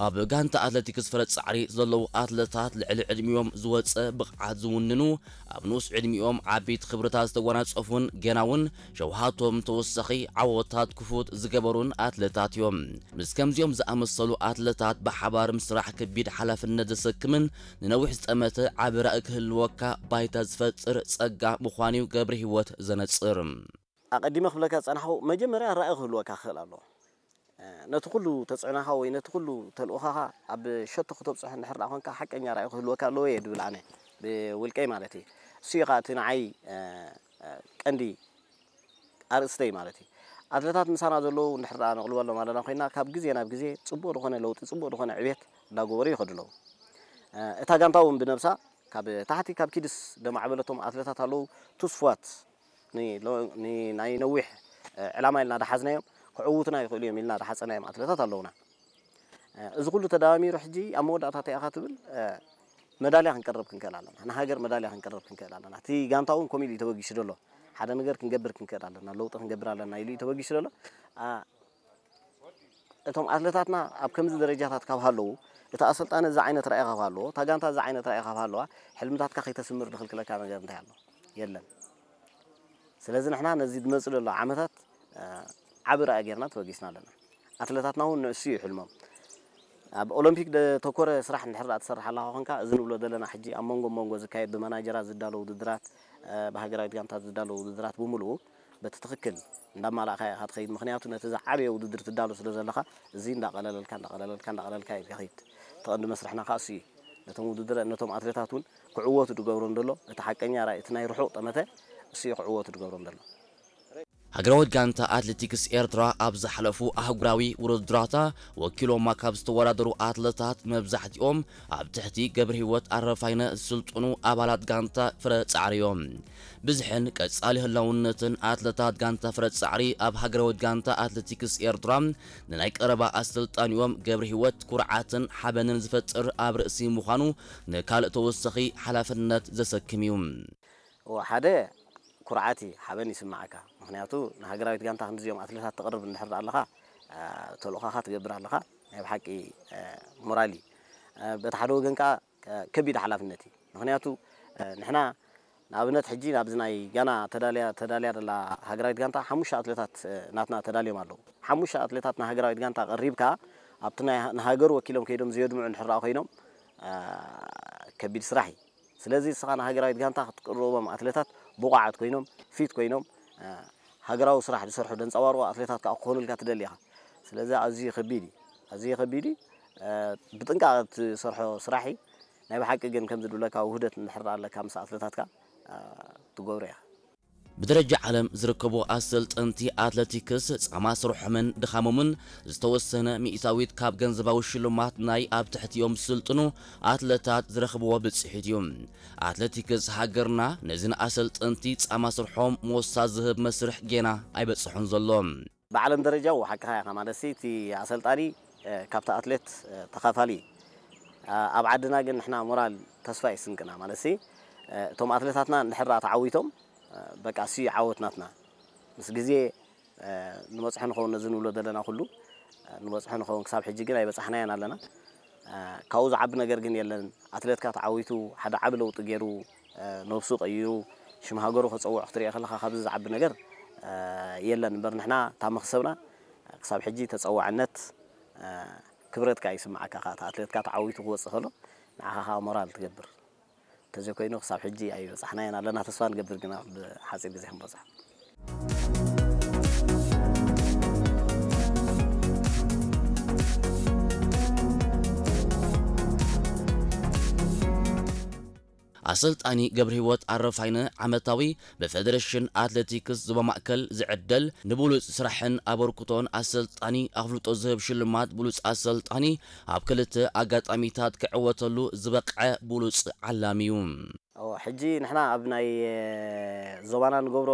ኣብ ጋንታ ኣትሌቲክስ ፍረ ጻዕሪ ዘለዉ ኣትለታት ልዕሊ ዕድሚኦም ዝወጸ ብቕዓት ዝውንኑ፣ ኣብ ንኡስ ዕድሚኦም ዓበይቲ ክብርታት ዝተጎናጸፉን ገና እውን ሸውሃቶም ተወሳኺ ዓወታት ክፉት ዝገበሩን ኣትለታት እዮም። ምስ ከምዚኦም ዝኣመሰሉ ኣትለታት ብሓባር ምስራሕ ከቢድ ሓላፍነት ዘሰክምን ንነዊሕ ዝጠመተ ዓቢ ራእይ ክህልወካ ባይታ ዝፈጥር ጸጋ ምዃኑ'ዩ ገብረ ህይወት ዘነጽር። ኣቐዲመ ክብለካ ዝጸናሕኩ፣ መጀመርያ ራእይ ክህልወካ ክኽእል ኣለዎ። ነቲ ኩሉ ተጽዕኖኻ ወይ ነቲ ኩሉ ተልእኾኻ ኣብ ሸቶ ክተብጽሖ እንድሕር ደኣ ኮንካ፣ ሓቀኛ ራእይ ክህልወካ ኣለዎ እየ ድብል ኣነ፣ ብውልቀይ ማለት እዩ። እሱ እዩ ከኣ እቲ ንዓይ ቀንዲ ኣርእስተይ ማለት እዩ። ኣትለታት ምሳና ዘለዉ እንድሕር ደኣ ነቕልበሎም ኣለና ኮይና፣ ካብ ግዜ ናብ ግዜ ጽቡቕ ዝኾነ ለውጢ፣ ጽቡቕ ዝኾነ ዕቤት እንዳገበሩ ይኸዱ ኣለዉ። እታ ጋንታ እውን ብነብሳ ካብ ታሕቲ ካብ ኪድስ ደማዕበለቶም ኣትለታት ኣለዉ፣ ትስፉዋት፣ ን-፣ ሎ-፣ ን-፣ ናይ ነዊሕ ዕላማ ኢልና ደሓዝናዮም ክዕውቱና ይኽእሉ እዮም ኢልና ደሓጸናዮም ኣትለታት ኣለዉና። እዚ ኩሉ ተደማሚሩ ሕጂ ኣብ መወዳእታ እንታይ ኢኻ ትብል? መዳልያ ክንቀርብ ክንክእል ኣለና። ንሃገር መዳልያ ክንቀርብ ክንክእል ኣለና። እቲ ጋንታ እውን ከምኡ ኢሉ እዩ ተበጊሱ ዘሎ። ሓደ ነገር ክንገብር ክንክእል ኣለና። ለውጢ ክንገብር ኣለና ኢሉ እዩ ተበጊሱ ዘሎ። ኣ-፣ እቶም ኣትለታትና ኣብ ከምዚ ደረጃታት ካብ ሃለዉ፣ እቲ ኣሰልጣኒ እዚ ዓይነት ራእይ ካብ ሃለዎ፣ እታ ጋንታ እዚ ዓይነት ራእይ ካብ ሃለዋ፣ ሕልምታትካ ከይተስምር ዝኽልክለካ ነገር እንታይ ኣሎ? የለን። ስለዚ ንሕና ነዚ ዝመጽእ ዘሎ ዓመታት፣ እ፣ ዓቢ ራእይ ጌርና ተበጊስና ኣለና። ኣትለታትና እውን ንእሱ እዩ ሕልሞም። ኣብ ኦሎምፒክ ዘተኮረ ስራሕ እንድሕር ደኣ ትሰርሕ ኣለኻ ኮንካ፣ እዚ ንብሎ ዘለና ሕጂ ኣብ መንጎ መንጎ ዝካየድ ብመናጀራት ዝዳሎ ውድድራት፣ እ፣ ብሃገራዊት ጋንታት ዝዳሎ ውድድራት ብምሉኡ በቲ ትኽክል እንዳማላእካ ኢኻ ትኸይድ። ምኽንያቱ ነቲ ዝዓበየ ውድድር ትዳሎ ስለ ዘለኻ፣ እዚ እንዳቐለለልካ፣ እንዳቐለለልካ፣ እንዳቐለልካ እዩ ትኸይድ። እቲ ቀንዲ መስርሕና ከኣ እሱ እዩ። ነቶም ውድድር፣ ነቶም ኣትሌታት እውን ክዕወቱ ዝገብሮም ዘሎ፣ እቲ ሓቀኛ ራእይ፣ እቲ ናይ ርሑቕ ጠመተ እሱ እዩ ክዕወቱ ዝገብሮም ዘሎ። ሃገራዊት ጋንታ ኣትሌቲክስ ኤርትራ ኣብ ዝሓለፉ ኣህጉራዊ ውድድራታ ወኪሎማ ካብ ዝተወዳደሩ ኣትለታት መብዛሕትኦም ኣብ ትሕቲ ገብረ ህይወት ኣረፋይነ ዝስልጥኑ ኣባላት ጋንታ ፍረ ጻዕሪ እዮም። ብዝሕን ቀጻሊ ህላውነትን ኣትለታት ጋንታ ፍረ ጻዕሪ ኣብ ሃገራዊት ጋንታ ኣትሌቲክስ ኤርትራ ንናይ ቀረባ ኣሰልጣኒኦም ገብረ ህይወት ኩርዓትን ሓበንን ዝፈጥር ኣብ ርእሲ ምዃኑ ንካልእ ተወሳኺ ሓላፍነት ዘሰክም እዩ። እወ፣ ሓደ ኩርዓት እዩ፣ ሓበን ይስምዓካ። ምኽንያቱ ንሃገራዊት ጋንታ ክንዲዚኦም ኣትሌታት ተቕርብ እንድሕር ደኣ ኣለኻ፣ አ፣ ተልእኾኻ ትገብር ኣለኻ፣ ናይ ብሓቂ፣ አ፣ ሞራል እዩ። አ፣ በቲ ሓደ ወገን ከኣ፣ አ፣ ከቢድ ሓላፍነት እዩ። ምኽንያቱ፣ አ፣ ንሕና ንኣብነት ሕጂ ናብዚ ናይ ጋና ተዳልያ፣ ተዳልያ ዘላ ሃገራዊት ጋንታ ሓሙሽተ ኣትሌታት፣ አ፣ ናትና ተዳልዮም ኣለዉ። ሓሙሽተ ኣትሌታት ንሃገራዊት ጋንታ ቀሪብካ ኣብቲ ናይ፣ ንሃገሩ ወኪሎም ከይዶም ዘየድምዑ እንድሕር ደኣ ኮይኖም፣ አ፣ ከቢድ ስራሕ እዩ። ስለዚ ንስኻ ንሃገራዊት ጋንታ ክትቅርቦም ኣትሌታት ብቑዓት ኮይኖም፣ ፊት ኮይኖም፣ እ፣ ሃገራዊ ስራሕ ዝሰርሑ ዘንጸባርቑ ኣትሌታት ከኣ ክኾኑልካ ትደሊ ኢኻ። ስለዚ ኣዝዩ ከቢድ እዩ። ኣዝዩ ከቢድ እዩ። እ፣ ብጥንቃቐ እትሰርሖ ስራሕ እዩ። ናይ ብሓቂ ግን ከምዚ ዝብለካ ውህደት እንድሕር ኣለካ ምስ ኣትሌታትካ፣ እ፣ ትገብሮ ኢኻ። ብደረጃ ዓለም ዝርከቡ ኣሰልጠንቲ ኣትለቲክስ ጻማ ስርሖምን ድኻሞምን ዝተወሰነ ሚእታዊት ካብ ገንዘባዊ ሽልማት ናይ ኣብ ትሕቲኦም ዝስልጥኑ ኣትለታት ዝረኽብዎ ብጽሒት እዩ። ኣትለቲክስ ሃገርና ነዚ ንኣሰልጠንቲ ጻማ ስርሖም ሞሳ ዝህብ መስርሕ ጌና ኣይበጽሖን ዘሎ። ብዓለም ደረጃ ሓቅኻ ኢኻ፣ ማለትሲ እቲ ኣሰልጣኒ፣ እ፣ ካብቲ ኣትሌት፣ እ፣ ተኻፋሊ እዩ። እ፣ ኣብ ዓድና ግን ንሕና ሞራል ተስፋ እዩ ስንቅና፣ ማለትሲ፣ እ፣ እቶም ኣትሌታትና እንድሕር ደኣ ተዓዊቶም፣ እ፣ በቃ እሱ እዩ ዓወት ናትና። ምስ ግዜ፣ እ፣ ንበጽሖ ንኸውን ነዚ ንብሎ ዘለና ኩሉ፣ እ፣ ንበጽሖ ንኸውን። ክሳብ ሕጂ ግን ኣይበጻሕናዮን ኣለና። እ፣ ካብኡ ዝዓቢ ነገር ግን የለን። ኣትሌትካ ተዓዊቱ ሓደ ዓቢ ለውጢ ገይሩ፣ እ፣ ነብሱ ቀይሩ ሽም ሃገሩ ከጸውዕ ክትሪኦ ከለኻ ካብዚ ዝዓቢ ነገር፣ እ፣ የለን። እምበር ንሕና እታ መኽሰብና ክሳብ ሕጂ ተጸዋዕነት፣ እ፣ ክብረት ከኣ ይስምዓካ። ከኣ እቲ ኣትሌትካ ተዓዊቱ ክወጽእ ከሎ ንዓኻ ከኣ ሞራል ትገብር። እንተዘይኮይኑ ክሳብ ሕጂ ኣይበጻሕናዮን ኣለና። ተስፋ ንገብር ግና ብሓጺር ግዜ ክንበጽሖ። ኣሰልጣኒ ገብረሂወት ኣረፋይነ ዓመታዊ ብፌደሬሽን ኣትሌቲክስ ዞባ ማእከል ዝዕደል ንብሉጽ ስራሕን ኣበርክቶን ኣሰልጣኒ ኣፍልጦ ዝህብ ሽልማት ብሉጽ ኣሰልጣኒ ኣብ ክልተ ኣጋጣሚታት ክዕወተሉ ዝበቕዐ ብሉጽ ዓላሚ እዩ። እዎ፣ ሕጂ ንሕና ኣብ ናይ ዞባና ንገብሮ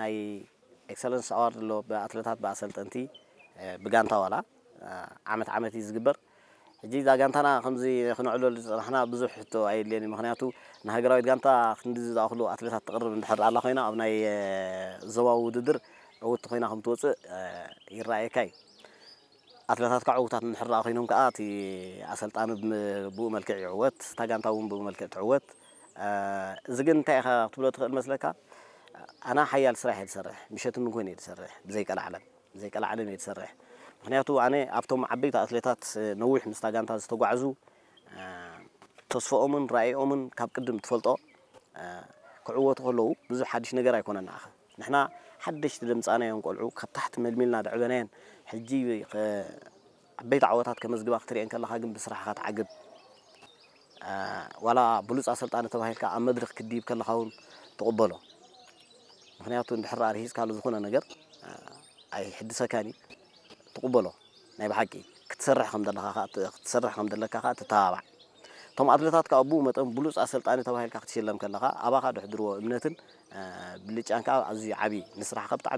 ናይ ኤክሰለንስ ኣዋርድ ኣሎ፣ ብኣትለታት፣ ብኣሰልጠንቲ፣ እ፣ ብጋንታ ዋላ፣ እ፣ ዓመት ዓመት እዩ ዝግበር። ሕጂ እዛ ጋንታና ከምዚ ክነዕልለሉ ዝጸናሕና ብዙሕ ሕቶ ኣየድልየን እዩ። ምኽንያቱ ንሃገራዊት ጋንታ ክንዲ ዝኣኽሉ ኣትለታት ተቕርብ እንድሕር ኣላ ኮይና፣ ኣብ ናይ፣ እ፣ ዞባዊ ውድድር ዕውትቲ ኮይና ከም ትወጽእ፣ እ፣ ይረኣየካ እዩ። ኣትለታት ከዓ ዕውታት እንድሕር ደኣ ኮይኖም ከዓ እቲ ኣሰልጣኒ ብም- ብኡ መልክዕ ይዕወት፣ እታ ጋንታ እውን ብኡ መልክዕ ትዕወት። እ፣ እዚ ግን እንታይ ኢኻ ክትብሎ ትኽእል መስለካ? ኣና ሓያል ስራሕ እየ ዝሰርሕ፣ ምሸትን ንግሆን እየ ዝሰርሕ፣ ብዘይቀላዕለም፣ ብዘይቀላዕለም እየ ዝሰርሕ። ምክንያቱ ኣነ ኣብቶም ዓበይቲ ኣትሌታት ነዊሕ ምስታ ጋንታ ዝተጓዕዙ፣ እ፣ ተስፈኦምን ራእዮምን ካብ ቅድም ትፈልጦ፣ እ፣ ክዕወቱ ከለዉ ብዙሕ ሓድሽ ነገር ኣይኮነን ንዓኻ። ንሕና ሓደሽቲ ደምጻናዮም ቆልዑ ካብ ታሕቲ መልሚልና ደዕበናየን ሕጂ ከ- ዓበይቲ ዓወታት ከመዝግባ ክትሪኤን ከለኻ ግን ብስራሕኻ ትዓግብ። እ፣ ዋላ ብሉፅ ኣሰልጣኒ ተባሂልካ ኣብ መድረኽ ክትድይብ ከለኻ እውን ትቕበሎ። ምክንያቱ እንድሕር ደኣ ርሂፅካሉ ዝኾነ ነገር፣ እ፣ ኣይሕድሰካን እዩ። ትቕበሎ። ናይ ብሓቂ ክትሰርሕ ከም ዘለኻ ኸኣ ት- ክትሰርሕ ከም ዘለካ ኸኣ ትተባባዕ። እቶም ኣትሌታት ከኣ ብኡ መጠን ብሉፅ ኣሰልጣኒ ተባሂልካ ክትሽለም ከለኻ ኣባኻ ድሕድርዎ እምነትን፣ እ፣ ብልጫን ከኣ ኣዝዩ ዓብዪ፣ ንስራሕካ ብጣዕሚ